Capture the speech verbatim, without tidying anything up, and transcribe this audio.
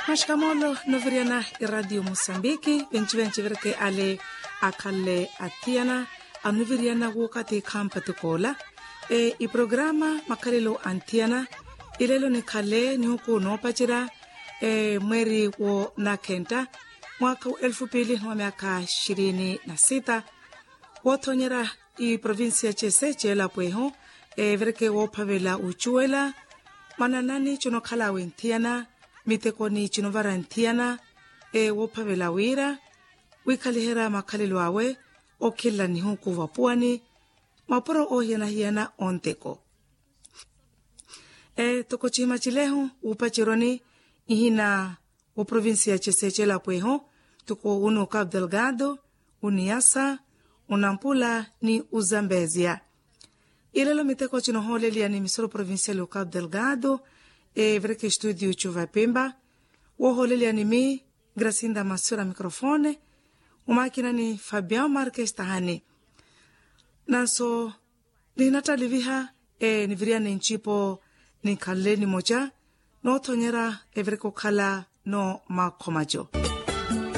Maxikamoolo noviriyana iraatiyo musambiki, venci venci vireke ale akhalle athiyana, anoviriyana wookathi khampati koola. Iprograma makhalelo anthiyana, ilelo nikhale nihuku noopacerya mweeri wo nakhenta, mwaakha wa elfu piili ni wa myaakha xirini na sita. Woothonyerya iprovincia cese ceelapweho, vireke woophavela wucuwela, mwananani cinokhala awe nthiyana, mitekoni cinovara nthiyana, woophavela wira wiikhaliherya makhalelo awe, okhelela nihuku vapuwani, mapuro oohiyana-hiyana onteko. Toko cihima cilehu wuupaceroni, ihina wa provincia cese celapweho, toko uni ukapu delgado, uniyasa, unampula ni uzambezia. Ilelo miteko cinohooleliya ni misoro provincial ukapu delgado, vireke studio cuvapimba, woohooleliya ni mi gracinda masura microfone, umaakina ni fabian marques tahani. Nanso nihinattaliviha, niviriyane ncipo, ninkhanle nimoca noothonyerya, evireke okhala no makhomaco.